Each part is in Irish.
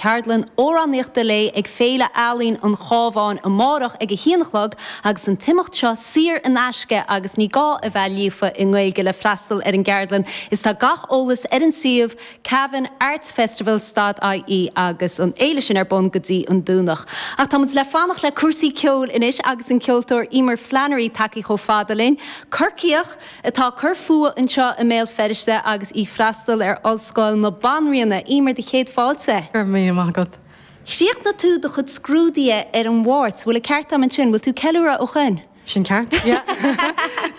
ceardlann amhránaíochta léi ag Féile Ealaíon an Chabháin amárach ag a haon a chlog agus an t-imeacht seo saor in aisce agus ní gá a bheith líofa i nGaeilge le freastal ar an gceardlann is tá gach eolas ar an suíomh Cavan Arts Festival stad ie agus an fhéile sin ar bun go dtí an Domhnach. Ach tá muid le fanacht le cúrsaí ceoil anois agus an ceoltóir Emer Flannery tagtha chomh fada linn. Corcaíoch atá ag cur fúithi anseo i mBéal Feirste agus í freastal ar Ollscoil na Banríona. Emer, do chéad fáilte. Go raibh míle maith agat. Chríochnaigh tú do chuid scrúduithe ar an Mháirt, bhfuil an ceart agam ansin? Bhfuil tú ag ceiliúradh ó shoin? Sin ceart, yeah.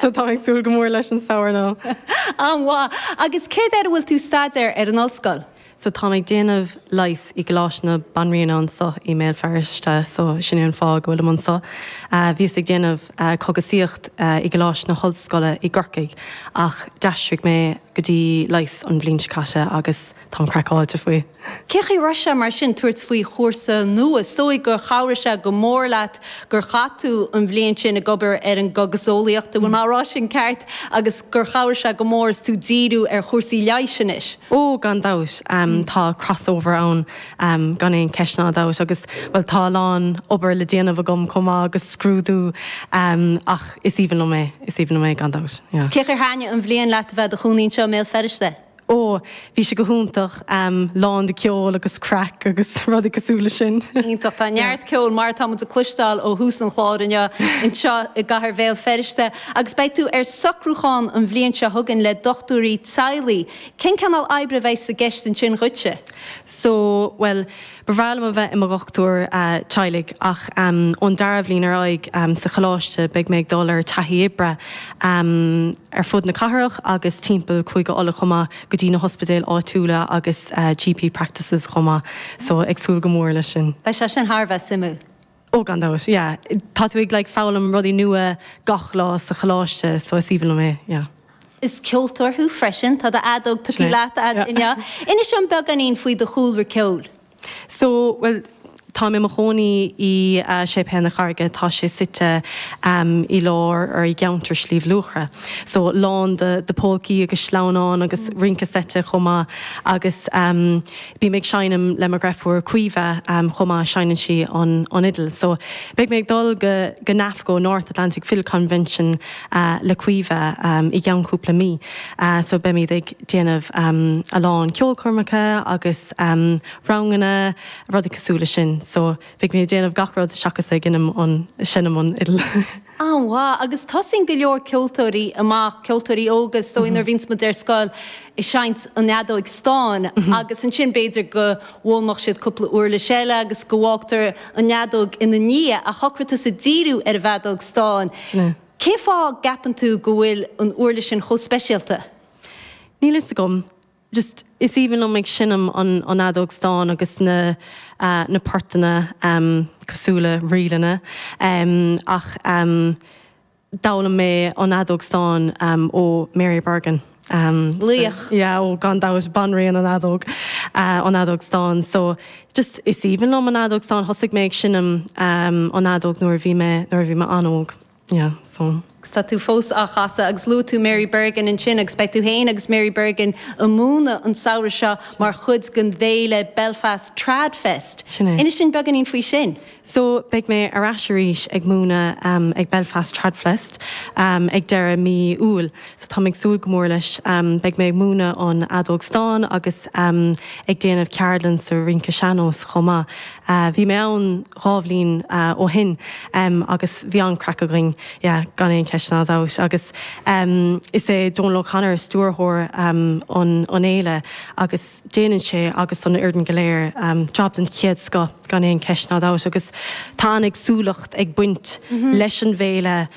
So táim ag súil go mór leis an samhradh now. An-mhaith. Agus céard air a bhfuil tú ag staidéar ar an ollscoil? So táim ag déanamh leighis i gColáiste na Banríona anso i mBéal Feirste, so sin é an fáth go bhfuilim anso. Bhíos ag déanamh cogasaíocht i gColáiste na hOllscoile i gCorcaigh ach d'aistrigh mé go dtí leigheas an bhliain seo caite agus táim craiceáilte faoi. Cé chaoi a raibh sé mar sin tabhairt faoi chúrsa nua? Is dóigh gur chabhraigh sé go mór leat gur chaith tú an bhliain sin ag obair ar an gcogaseolaíocht, an bhfuil mé á rá sin ceart, agus gur chabhraigh sé go mór is tú díriú ar chúrsaí leighis anois. Ó, gan dabht. Tá crossover ann gan aon cheist ná dabht agus, bhuel, tá a lán obair le déanamh agam chomh maith agus scrúdú ach is aoibhinn liom é, is aoibhinn liom é gan dabht, yeah. Is cé chaoi ar thaitnigh an bhliain leat a bheith i do chónaí anseo i mBéal Feirste? Ó, bhí sé go hiontach, lán de ceol agus craic agus rudaí cosúil leis sin. Iontach. Tá neart ceoil, mar atá muid ag cloisteáil ó thús an chláir inniu, anseo i gcathair Bhéal Feirste agus beidh tú ar socrúchán an bhliain seo chugainn le dochtúirí teaghlaigh. Cén cineál oibre a bheidh i gceist ansin dhuitse? So, bhuel, Ba bhreá liom a bheith i mo dhochtúir teaghlaigh ach ón dara bhliain ar aghaidh sa choláiste beidh mé ag dul ar taithí oibre ar fud na cathrach agus timpeall Cúige Uladh chomh maith go dtí na hospidéil áitiúla agus GP practices chomh maith so ag súil go mór leis sin. Beidh sé sin thar a bheith suimiúil. Ó gan dabht, yeah. Tá tú ag like foghlaim rudaí nua gach lá sa choláiste so is aoibhinn liom é, yeah. Is ceoltóir thú freisin, tá do fheadóg tugtha leat a'd inniu. Inis dom beagáinín faoi do chúlra ceoil. So, bhuel, táim i mo chónaí i Séipéal na Carraige, tá sé suite i lár, or i gceantar Sliabh Luachra. So, lán de de pólcaí agus sleamhnáin agus rince seite chomh maith agus Bím ag seinm le mo dhreifúr Caoimhe chomh maith, seinneann sí an fhidil. So beidh mé ag dul go go NAFCO, North Atlantic Fiddle Convention, le Caoimhe i gceann cúpla mí. So beimid ag déanamh a lán ceolchoirmeacha agus ranganna, rudaí cosúil le sin. So beidh mé ag déanamh gach rud seachas ag innim an, seinm an fhidil. An-mhaith. Agus tosaíonn go leor ceoltóirí amach, ceoltóirí óga is dóigh nuair a bhíonns muid ar scoil, ag seinnt an fheadóig stáin agus ansin b'fhéidir go bhfoghlaimeodh siad cúpla uirlis eile agus go bhfágtar an fheadóg ina ndiaidh ach shocraigh tusa díriú ar an bhfeadóg stáin. Cén fáth a gceapann tú go bhfuil an uirlis sin chomh speisialta? Níl fhios agam. Just, is aoibhinn liom ag seinm an an fheadóg stáin agus na na portanna cosúil le ríleanna ach d'fhoghlaim mé an fheadóg stáin ó Mary Bergin. Laoch. Yeah, ó gan dabht, banríon an fheadóg, an fheadóg stáin. So, just, is aoibhinn liom an fheadóg stáin. Thosaigh mé ag seinm an fheadóg nuair a bhí mé, nuair a bhí mé an-óg. Yeah, so. Agus tá tú fós á chasadh agus luaigh tú Mary Bergin ansin agus beidh tú féin agus Mary Bergin ag múineadh an samhradh seo mar chuid den bhféile Belfast Trad Fest. Sin é. Inis dúinn beagáinín faoi sin. So, beidh mé ar ais arís ag múineadh ag Belfast Trad Fest ag deireadh mí Iúil. So táim ag súil go mór leis. Beidh mé ag múineadh an fheadóg stáin agus ag déanamh ceardlann sa rince sean-nós chomh maith. Bhí mé ann 2 bhliain ó shin agus bhí an-craic againn, yeah, gan aon cheist ná dabht. Agus is é Donal O'Connor stiúrthóir an fhéile agus déanann sé agus an fhoireann go léir job den chéad scoth gan aon cheist ná dabht. Agus tá an-éagsúlacht ag baint leis an bhféile,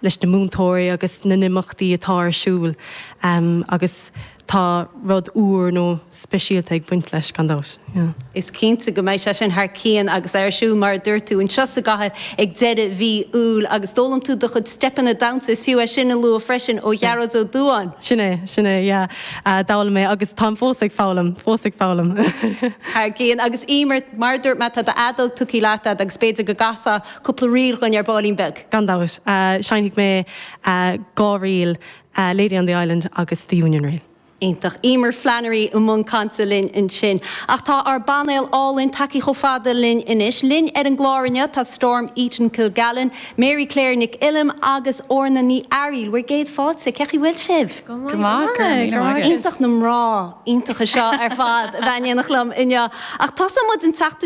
leis na múinteoirí agus na n-imeachtaí atá ar siúl agus tá rud úr nó speisialta ag baint leis, gan dabht. Yeah. Is cinnte go mbeidh sé sin thar cionn agus é ar siúl, mar a dúirt tú, anseo sa gcathair ag deireadh mhí Iúil agus d'fhoghlaim tú do chuid steipeanna damhsa, is fiú é sin a lua freisin, ó Ghearóid Ó Dúáin. Sin é, sin é, yeah. D'fhoghlaim mé agus táim fós ag foghlaim, fós ag foghlaim. Thar cionn. Agus Emer, mar a dúirt mé, tá d'fheadóg tugtha leat a'd agus b'fhéidir go gcasfá cúpla ríl dhuinn ar baillín beag. Gan dabht. Seinnfidh mé 2 ríl, Lady on the Island agus The Union Reel. Iontach. Emer Flannery i mbun cainte linn ansin. Ach tá ár bpainéal álainn tagtha chomh fada linn anois. Linn ar an gclár inniu tá Storm Eaton Kilgallen, Mary Claire Nic Uilliam agus Orna Ní Fhearaíl. Bhur gcéad fáilte. Cén chaoi bhfuil sibh? Go maith, go raibh míle maith agat. Iontach na mná iontacha seo ar fad a bheith in éineacht liom inniu. Ach tosóidh muid an tseachtain.